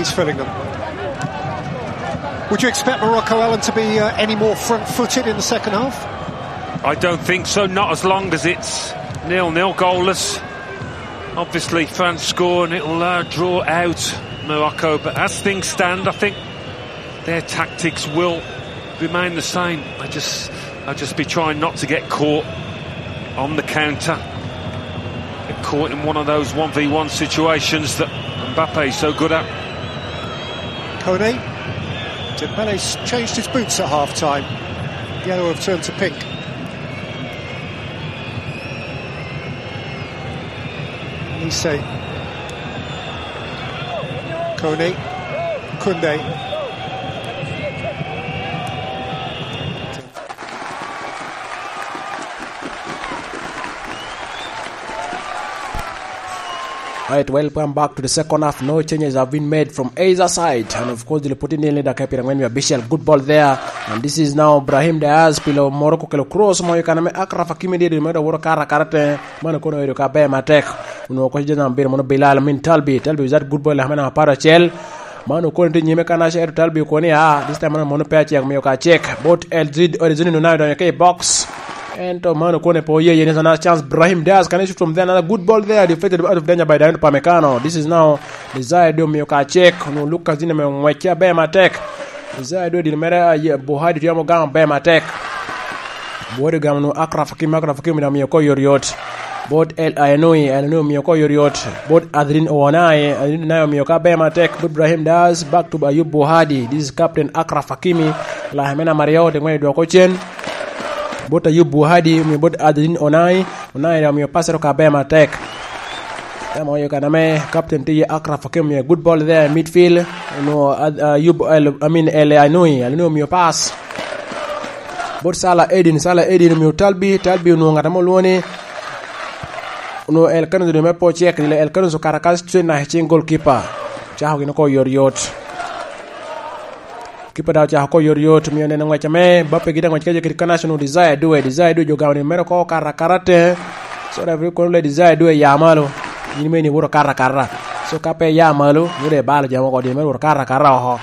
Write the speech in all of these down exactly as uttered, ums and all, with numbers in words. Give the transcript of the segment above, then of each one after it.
It's filling them. Would you expect Morocco, Alan, to be uh, any more front-footed in the second half? I don't think so, not as long as it's nil-nil, goalless. Obviously, France score and it'll uh, draw out Morocco, but as things stand, I think their tactics will remain the same. I just, I'll just be trying not to get caught on the counter. Get caught in one of those one v one situations that Mbappe is so good at. Kone. Dembele's changed his boots at half time. Yellow have turned to pink. Nisei. Kone. Kunde. Right, welcome back to the second half. No changes have been made from either side. And of course, the Putin in leader Kepira when we official good ball there. And this is now Brahim Diaz, pilo Morocco kelo cross mo yokana me Akraf Hakimi di di medo woro kara kara te. Mano kono edo ka be matek. Uno ko jana biro mono Bilal min Talbi. Talbi is that good ball hamena aparo chel. Mano kono ti nyime kana sher Talbi koni a. This time mano mono pe check miyo ka check. Bot El Zid or Zid no na donyo ke box. Ento mano kone po ye ye ni sana chance Brahim Diaz can shoot from there, another good ball there, deflected out of danger by Dayot Upamecano. This is now Desire do miyo ka check no Lucas Digne me ngwec aber matek. Desire do din mere a ye Buhadi tye mo gang aber matek. Buhadi gamo no Akraf Hakimi, Akraf Hakimi da miyo ko yot yot. Bot El Ainoui, El Ainoui miyo ko yot yot. Bot Adrien Ouanahi, Adrien Ouanahi miyo ka aber matek. Bot Brahim Diaz, back to Ayub Buhadi. This is captain Akraf Hakimi. Lahemena Mario, de ngwec dwoko cen. Bot Ayub Buhadi, omiyo bot Adrien Onai, Onai da omiyo passer ka aber matek. Dama oyo kan ame captain tye Akraf Hakim omiyo good ball there midfield. Onwo Ayub, I mean, El Anui, El Anui omiyo pass. Bot Sala Edin, Sala Edin omiyo Talbi, Talbi onwo ngat ame olwongo ni onwo El Kanus me po cek, El Kanus okato akato cen na cing goalkeeper. Cako gin oko yot yot. Kipa daŋ ocako ko yot yot, omiyo neno ngwec ame Bappe gin angwec kece kede International Desire Due, Desire Due jo gamo ni mere ko kara kara te. So referee kono le Desire Due ya malo. Yin meni iwoto kara kara. So ka pe ya malo, iwoto ibalo jamo ko din mere woto kara kara oko.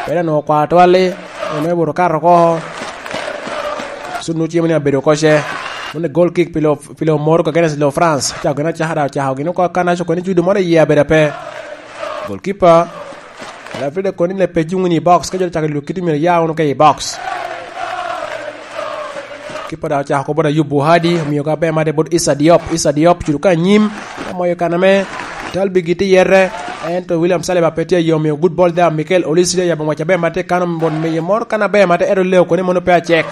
Pera no kwa twali, mere woto kara ko. So nu cimo ni abedo koce. Mone goal kick pilo pilo Morocco against lo France. Cako gin acaka da ocako gin ko kana so kono judo moro iye abedo pe. Goalkeeper Alfredo Cornelius pe cuŋ ni i box, ka jo cako lwek kiti myero ya wunu ke i box. Kipa daŋ ocako kop bot Ayub Buhadi, omiyo ka ber made bot Issa Diop, Issa Diop cuto ka anyim, ka moyo kan ame Talbi giti yete, ento William Saliba pe tye aye omiyo good ball there, Mikel Olise tye yabo ngwec aber mate kano bot miyo moro kan aber mate, ento leo koni mono pe acek.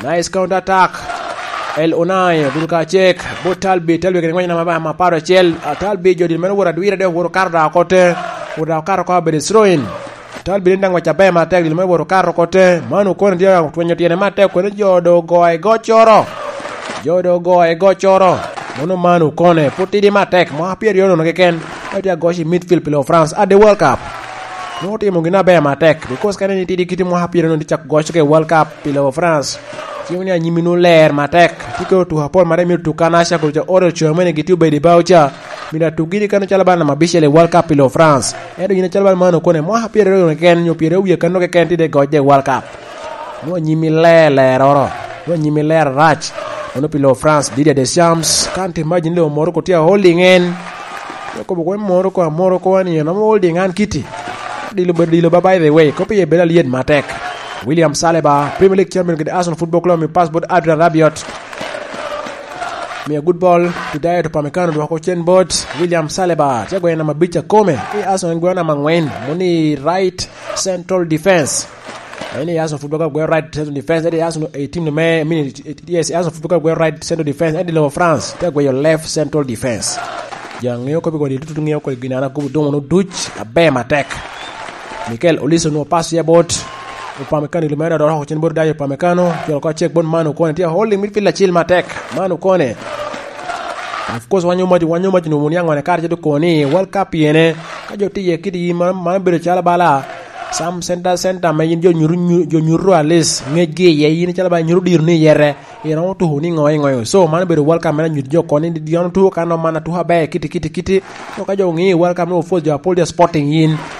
Nice counter attack. El Onai, ogudo ka cek. Bot Talbi, Talbi kede ngwec nama ma paro acel. Ah, Talbi jo dil meno woro adwira de woro kato da oko te. Woro da okato oko abedo throw-in. Talbi ni daŋ ngwec aber matek dil meno woro kato oko te. Man okone tye otwenyo tyene matek kone jo do ogoye gocoro. Jo do ogoye gocoro. Mono man okone. Put tidi matek. Mwaka pyeraryo nono keken. Ka tye agoc i midfield pi lo France. At the World Cup. Nwoŋo otimo gin aber matek. Because kane ni tidi kiti mwaka pyeraryo nono tye cak goc ke World Cup. Pi lobo France, cimo ni anyimi nu ler matek. Tye kede otuko apol mare myero tuk kan aca kulu ca oro co mene gitye obedo i bao ca. Myero atuk gini kano calo bal namba abicel i World Cup pi lobo France. Ento yin acalo bal man okone mwaka pyeraryo keken nyo pyeraryo wie kano keken tye de goc de World Cup. Nu anyimi ler ler oro. Nu anyimi ler arac. Mano pi lobo France, Didier Deschamps, kan te imagine lobo Morocco tye a holding en. Okobo kwe Morocco, a Morocco wani en amo holding an kiti. Dilo bedo dilo ba by the way. Kopi ye bedo alyet matek. William Saliba, Premier League champion kede Arsenal Football Club, mi pass bot Adrian Rabiot. Miyo good ball to Dayot Upamecano dwoko cen bot William Saliba. Tye gweyo namba abic akome. I Arsenal gweyo namba angwen. Moni right central defense. En i Arsenal Football Club gweyo right central defense. En i Arsenal eighteen me, mini, yes, Arsenal Football Club gweyo right central defense. En i lobo France. Tye gweyo left central defense. Jo aŋeo kop i kodi tutu ŋeo kodi gin an akobo domo no duc aber matek. Mikel Olise onwoŋo pass ya bot Upamecano, ilo mere doro oko cen bot Dayot Upamecano, jolo ko cek bot Manu Kone, tye holding midfield acil matek. Manu Kone. Of course, wanyo mac, wanyo mac no wun yaŋone kare ceto koni World Cup yene. Ka jo tiye kidi yi man, man bedo calo bala. Sam center, center, ma yin jo nyuru, nyu-, jo nyuru at least, ngecgi iye, yin calo bala nyuru diro ni yere. Iromo tuko ni ŋo i ŋo. So, man obedo World Cup meno anyuto jo koni ni dino tuko kan man atuko aber kiti, kiti, kiti. So, ka jo oŋeo World Cup ni ofo jo apol tye sporting yin.